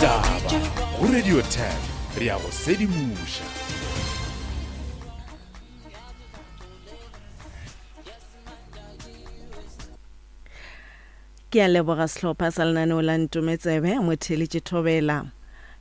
Ditaba go Radio 10 re a go sedimoša. Ke a leboga sehlopha sa lenaneo la Ntometsebe, motheeletši Thobela.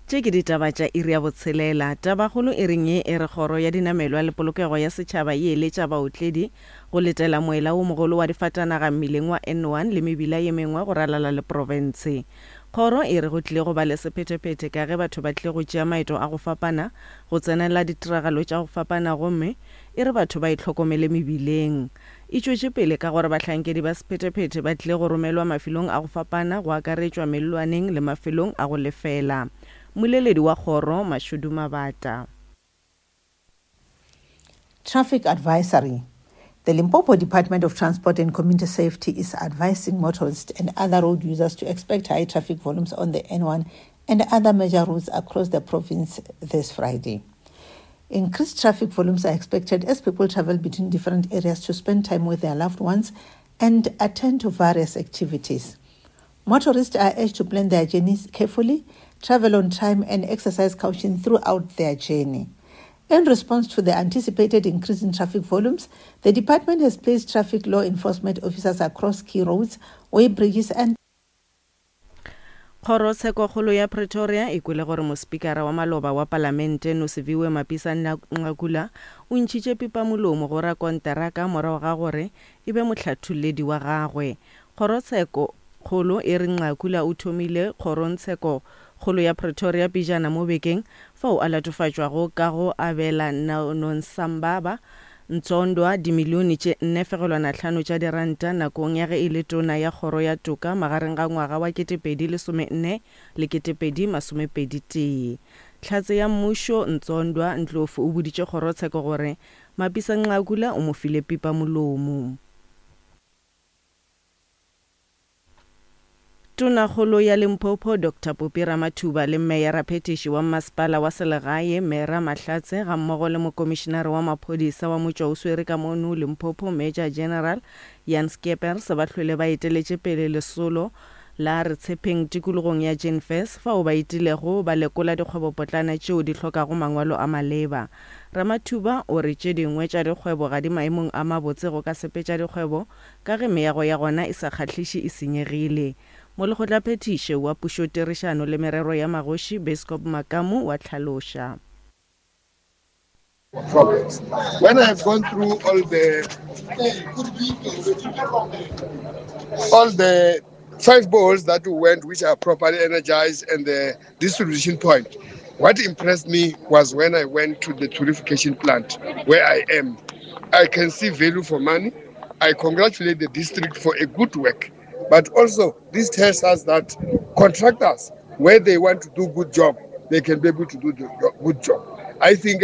Tše ke ditaba tša iri ya botshelela. Tabakgolo e reng ye e re Kgoro ya Dinamelwa le Polokego ya Setšhaba e eletša baotledi go letela moela wo mogolo wa difatanaga mmileng wa N1 le mebila ye mengwe go ralala le profense. Kgoro e re go tlile go ba le sephethephethe ka ge batho ba tlile go tšea maeto a go fapana go tsenela ditiragalo tša go fapana gomme e re batho ba itlhokomele mebileng. E tšwetše pele ka gore bahlankedi ba sephethephethe ba tlile go romelwa mafelong a go fapana go akaretšwa mellwaneng le mafelong a go lefela. Mmoleledi wa kgoro, Mashudu Mabata. Traffic advisory The Limpopo Department of Transport and Community Safety is advising motorists and other road users to expect high traffic volumes on the N1 and other major routes across the province this Friday. Increased traffic volumes are expected as people travel between different areas to spend time with their loved ones and attend to various activities. Motorists are urged to plan their journeys carefully, travel on time, and exercise caution throughout their journey. In response to the anticipated increase in traffic volumes, the department has placed traffic law enforcement officers across key roads, weighbridges, and Kgorotshekokgolo ya Pretoria e kwele gore mospikara wa maloba wa palamente Nosiviwe Mapisa-Nqakula o ntšhitše pipamolomo go rakonteraka morago ga gore e be mohlatholledi wa gagwe. Kgorotshekokgolo e re Nqakula o thomile kgorongtshekokgolo ya Pretoria pejana mo bekeng fao a latofatšwago ka go abela Nonsambaba Ntsondwa dimilione tše nne fegelwana hlano tša diranta nakong ya ge e le Tona ya Kgoro ya Toka magareng ga ngwaga wa 2014 le 2021. Hlatse ya mmušo, Ntsondwa Ndlovu o boditše kgorotsheko gore Mapisa-Nqakula o mo file pipa-molomo. Tonakgolo ya Limpopo Doctor Poppy Ramathuba le Meyara-phethiši wa Mmasepala wa Selegae Mera Mahlatse gammogo le Mokomišinare wa Maphodisa wa Motšwaoswere ka mono Limpopo Major General Jan Scheepers ba hlwele ba eteletše pele lesolo la Re Tshepheng tikologong ya Jenfes fao ba etilego ba lekola dikgwebopotlana tšeo di hlokago mangwalo a maleba. Ramathuba o re tše dingwe tša dikgwebo ga di maemong a mabotse go ka sepetša dikgwebo Ka ge meago ya gona e sa kgahliše e senyegile. Molekgotlaphethiše wa Pušotirišano le Merero ya Magoši, Biscop Makamu wa hlaloša. Problems. When I have gone through all the all the five bowls that we went, which are properly energized, and the distribution point, what impressed me was when I went to the purification plant where I am. I can see value for money. I congratulate the district for a good work. But also, this tells us that contractors, where they want to do good job, they can be able to do the good job. I think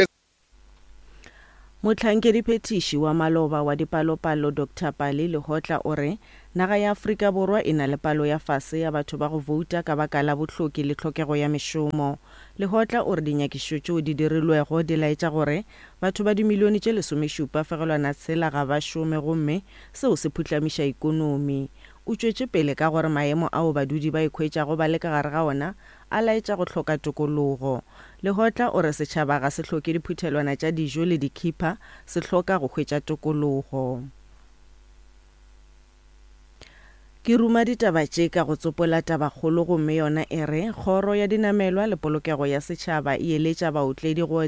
Mohlankediphethiši wa maloba wa dipalopalo Doctor Pali Lehohla o re naga ya Afrika Borwa e na le palo ya fase ya batho ba go bouta ka baka la bohloki le tlhokego ya mešomo. Lehohla o re dinyakišišo tšeo di dirilwego di laetša gore batho ba dimilione tše lesomešupa fegelwana tshela ga ba šome gomme seo se phuhlamiša ikonomi. O tšwetše pele ka gore maemo ao badudi ba ikhwetšago ba le ka gare ga ona a laetša go hloka tokologo. Lehotla o re setšhaba ga se hloke diphuthelwana tša dijo le dikhipha, se hloka go hwetša tokologo. Ke ruma ditaba tše ka go tsopola tabakgolo gomme yona e re, Kgoro ya Dinamelwa le Polokego ya Setšhaba e eletša baotledi go.